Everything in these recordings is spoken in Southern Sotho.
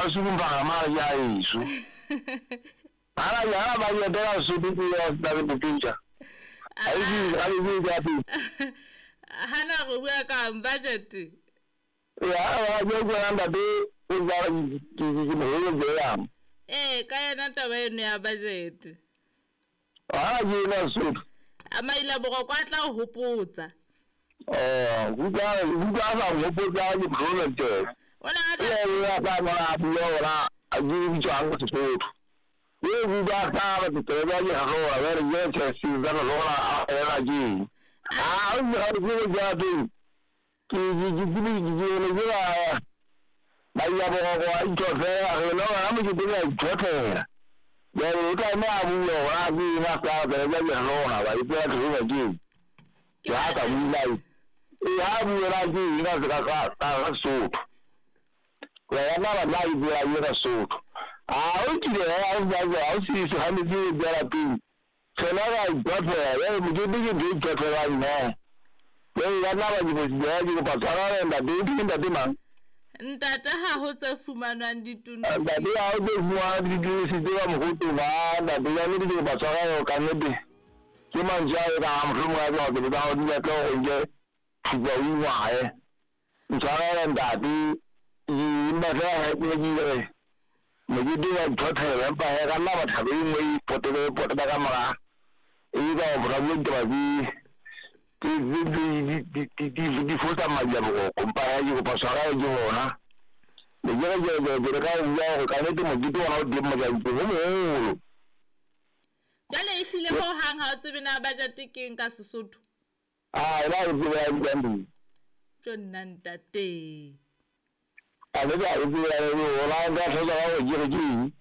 Masuku mphagamala ke a ešo. Gana bjala ba etela Sotho ke ya tsa le bopetša. A e ke ga le ke ya pele. Hana go bua ka budget. Ya ba ke go nda be o ja ke ke mo go yang. Ee, ka yena taba eno ya budget. A ke na Sotho. A maila boroko a tla o hopotsa. Oh, go ka sa hopotsa ke project. O ne a tla Ee, ya sa mona bua ora a ke bitswang Sesotho. Ye buka ka ba ke tseba ke ga go ba re ye ke se tsa go lona a ela ke. A o ga ke ke ja teng. Ke ke ke ke ke ke ke ba ba ya bo go a ithothela re no ga mo ke ke ya ithothela. Ya o tla me a bua ora ke na sa ba ya ke lona ba ke ya ke ba ke. Ke Ya ka bula. Ya bua ke ina ka ka ka Sotho. Ya na ba la bua ye ka Sotho. A o kile a o ja a o se se ga me ke ja la pele. Tsena ga ithothela ya mo ke ke ke ithothela nna. Ya ya na ba ke ya ke pa tsara ntate ke ntate mang. Ntate ha ho tse fumanwang dituno. Ntate ha o tse fumanwang dituno se tse ba mogoto ba ntate ya ne ke pa tsara yo ka nnete. Ke mantswe a e ka mohlomong a ke ke ba di batla go nke thupa o ingwae. Ntshwarele ntate ke mpa fela ke ke re mokete wa ithothela empa he ka nna batho e nngwe e potele e potela ka mora e ka go bora bo ditaba di di fosa madi a boroko mpa he ke kopa tshwarelo ke bona. Le ke re ke ke ke re ka bua gore ka nnete mokete ona o teng Mojanteng o moholo. Jwale e hlile ho hang ha o tsebe na budget ke eng ka Sesotho. A ena ke tsebe ya bitsang teng. Tjo nna ntate. A le ka tsebe ya le ona nka tlhoka ka gore ke re ke eng.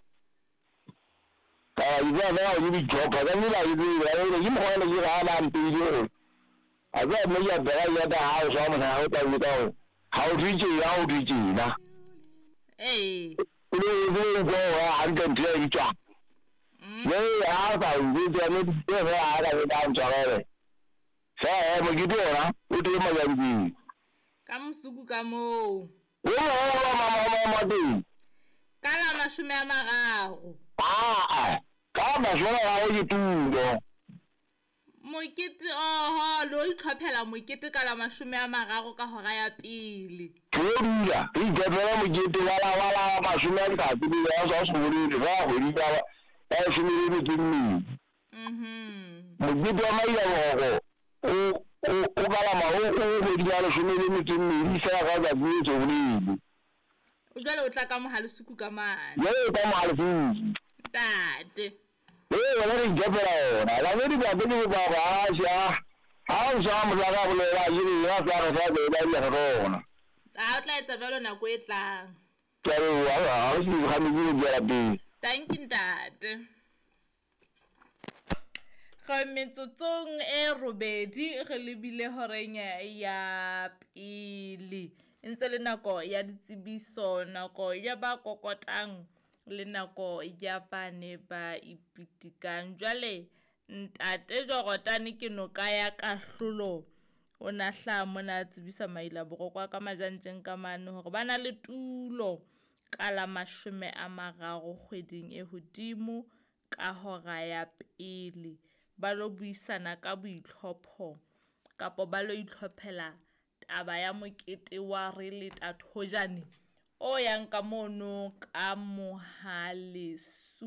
Ka ba ke tseba fela gore ke di-job-a ka nnete ha ke tsebe ya le ke mokgwa le ke ga a mpeile gore a tseba mme ke a bega ya ta ha o swa motho ha o tla botsa gore ha o thwe tjena ha o thwe tjena. Ee. O le o le utlwa hore hantle ntho e bitswang. Le ha o sa njwetse ya nnete ke fela ha ka ka ntshwarele. Fela he mokete ona o teng Mojanteng. Ka mosuku ka moo. O moholo mama teng. Ka la 30. Aa, ka 30 ke tulo. Mokete oho lo itlhophela mokete ka la 30 ka hora ya pele. Ke dula re itlhophela mokete wa la wa la mashome a letsatsi le ya sa se bolele ba kgwedi ka ba shome le metso e mmedi. Mokete wa maila boroko o o o ka la ma o o kgwedi ya leshome le metso e mmedi fela ka letsatsi le se bolele. O jwale o tla ka mohalesuku ka mane. Jwale ka mohalesuku. Ntate. Ee, wena re itlhophela ona. Ka nnete ntate ke kopa gore a sha ha o sa motho a ka bolela ke re ena sa re sa bolela le re rona. A o tla etsa jwalo nako e tlang. Ke a leboha ha o se ga me ke tswela pele. Thank you ntate. Re metsotsong e robedi re lebile horeng ya pele. E ntse le nako ya ditsebiso, nako ya ba kokotang le nako ya ba ne ba ipitikang. Jwale ntate Jorotane ke noka ya kahlolo. O na hlaha mona a tsebisa maila boroko a ka majantjeng ka mane hore ba na le tulo ka la 30 kgweding e hodimo ka hora ya pele. Ba lo buisana ka boitlhopho kapo ba lo itlhophela taba ya mokete wa re le tathojane o yang ka mono ka Mohalesu.